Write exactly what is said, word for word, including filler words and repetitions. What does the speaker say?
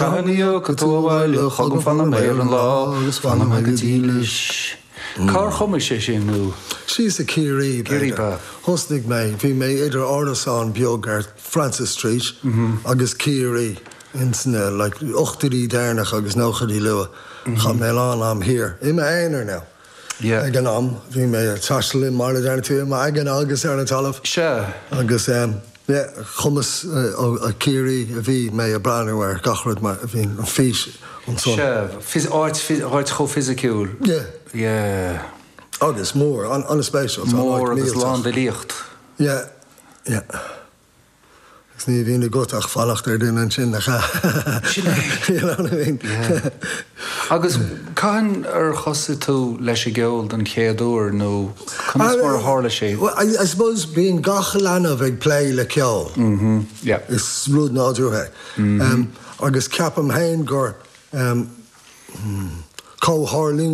Cathain a thiocfaidh tú abhaile chugam fanfaidh mé ar an lá agus fanfaidh mé go dílis. Cár chumais sé sin nó? Síos i Ciarraí. Ciarraí ba. Thosnaigh mé, bhí mé idir árasán beag ar Francis Street agus Ciarraí ins na like, ochtóidí deireanach agus nóchaidí luath. Chaith mé lán am thiar. I m'aonar now. Yeah. Ag an am bhí mé ag taisteal mar a deir tú i m'aigne agus ar an talamh. Se. Agus um, yeah, chumas uh, ó Ciarraí a bhí mé ag breathnú ar gach rud mar a bhí an fís ansan. Se, áit áit chomh fisiciúil. Yeah. Yeah. Agus mór an an-spéisiúil. Mór agus lán d'fhilíocht. Yeah, yeah. Agus ní bhíonn agat ach fanacht ar duine ansin nach Sin é. You know what I mean? Yeah. Agus cathain ar thosaigh tú leis an gceol den chéad uair nó conas mar a tharla sé? Well, I, I suppose bíonn gach leanbh ag plé le ceol. Mm-hmm. Yeah. Is rud nádúrtha. Mm -hmm. um, agus ceapaim féin gur um, hmm, comhtharlúint